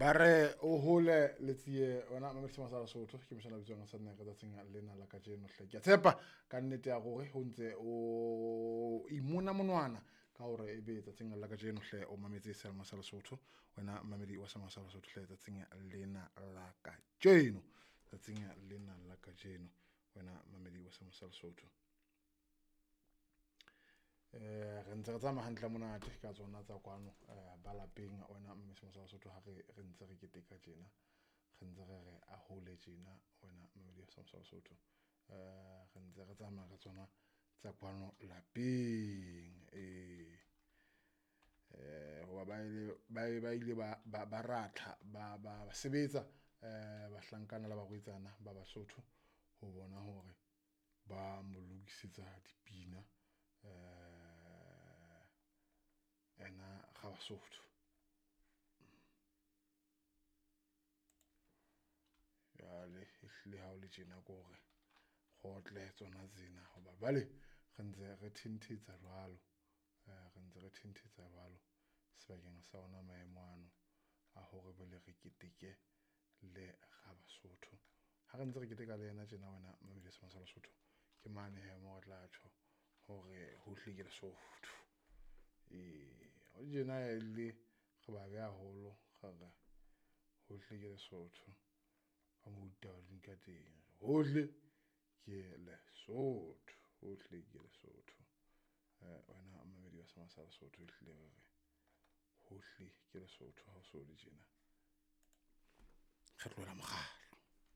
Ba re o hole letsie wena mamedi sa Lesotho ke moshana bitswang sa nna ka tsatsing lena la kajeno hle. Ke a tshepa ka nnete ya gore ho ntse o imona monwana ka hore ebe tsatsing la kajeno hle o mametse Selma sa Lesotho, wena mamedi wa Selma sa Lesotho hle tsatsing lena la kajeno, tsatsing lena la kajeno wena mamedi wa Selma sa Lesotho. Re ntse re tsamaya hantle monate ka tsona tsa kwano ba lapeng wena mme sa Lesotho ha re re ntse re keteka tjena, re ntse re re a hole tjena wena mme sa Lesotho. Re ntse re tsamaya ka tsona tsa kwano lapeng hoba ba ile ba ratha ba sebetsa bahlankana le barwetsana ba Basotho ho bona hore ba mo lokisetsa dipina ena ga Basotho. Jwale ehlile ha o le tjena ke hore kgotle tsona tsena hoba jwale re ntse re thentetsa jwalo, re ntse re thentetsa jwalo sebakeng sa ona maemo ano a hore bele re keteke le ga Basotho. Ha re ntse re keteka le yena tjena wena mamedi sa Lesotho ke mane he mo re tla tjho hore hohle ke Lesotho. O tjena e le re ba beha haholo re re hohle ke Lesotho ka mo ditaba di ka teng, hohle ke Lesotho, hohle ke Lesotho. Wena mamedi wa sa Lesotho ehlile re re hohle ke Lesotho ha o so le tjena. Re tlohela mokgatlo.